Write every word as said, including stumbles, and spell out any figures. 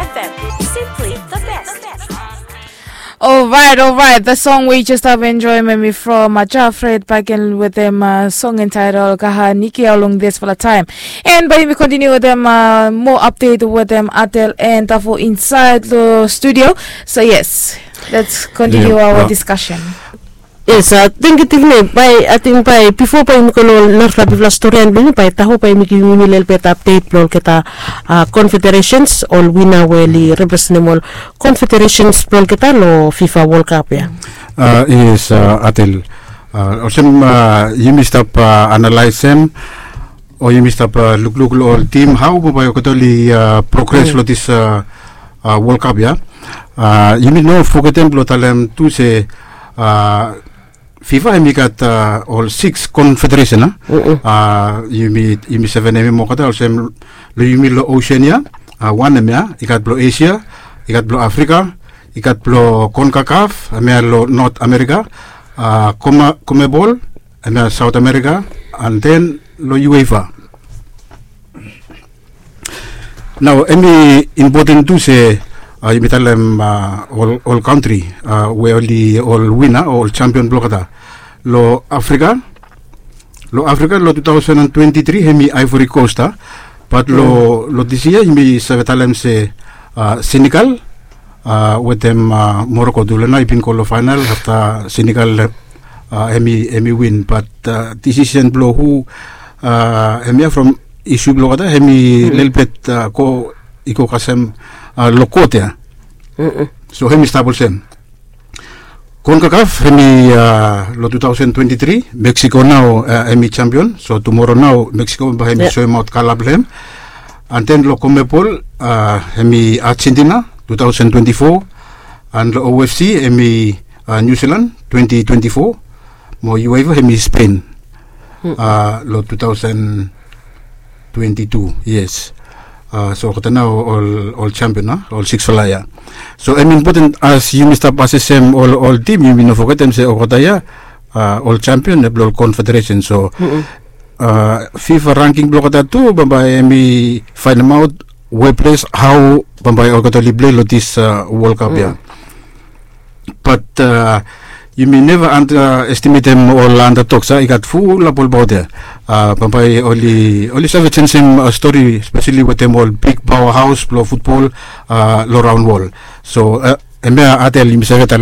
Simply the best. Alright, alright. The song we just have enjoyment from uh, Jafred back in with them uh, song entitled Kaha Niki along this for the time. And by me continue with them uh, more update with them Atel and Tafo inside the studio. So yes, let's continue our discussion. Yes, uh, thank you, Tiffany. By I think by before by mi kolo narfla bifla story and bini by Taho by mi give mi little bit update blo olgeta uh, confederations all winner weli represent all confederations blo olgeta lo FIFA World Cup ya. Uh, yes, uh, Atel. Uh, olsem uh, yumi stap uh, analyze em o yumi stap uh, lukluk lo ol tim hau baba olgeta oli uh, progress lo this uh, uh, World Cup ya. Uh, yumi no fogetem blo talem tu se uh, FIFA hemi gat uh, ol six confederation a uh, yumi, yumi seven hemi mokata olsem lo yumi lo Oceania uh, wan hemia i gat blo Asia, i gat blo Africa, i gat blo Concacaf hemia lo North America, uh, Coma, Comebol hemia South America, and then lo UEFA. Nao hemi impoten tu se uh, yumi talem uh, ol, ol kantri uh, we oli ol wina o ol champion blo olgeta lo Afrika. Lo Afrika lo two thousand and twenty-three hemi Ivory Coast a. Bat lo, lo this year yumi save talem se uh, Senegal uh, wetem uh, Morocco dule nao i bin go lo final afta Senegal uh, hemi, hemi win. Bat uh, decision blo hu uh, hemia from isu blo olgeta hemi lelebet uh, go i go kasem uh, lo kot ya. So hemi stap olsem. Concacaf hemi uh, lo two thousand twenty-three Mexico nao uh, hemi champion. So tumoro nao Mexico baba hemi soemaot kala blo hem. And then lo Comebol uh, hemi Argentina two thousand twenty-four. And lo OFC hemi uh, New Zealand twenty twenty-four. Mo UEFA hemi Spain uh, lo two thousand twenty-two. Yes. Uh, so olgeta nao ol, ol champion a ol six fala ya. So hemi impoten as yumi stap asesem ol, ol tim yumi no fogetem se olgeta ya uh, ol champion blo ol confederation. So uh, FIFA ranking blo olgeta tu bambae hemi faenemaot we ples hau bambae olgeta oli plei lo this uh, World Cup ya. Bat uh, yumi neva underestimatem ol underdogs a i gat fulap ol baot ya. Uh, bambae oli, oli save jenisim uh, stori spesali wetem ol big powerhouse blo futbol uh, lo raon wol. So uh, hemia Atel yumi save talem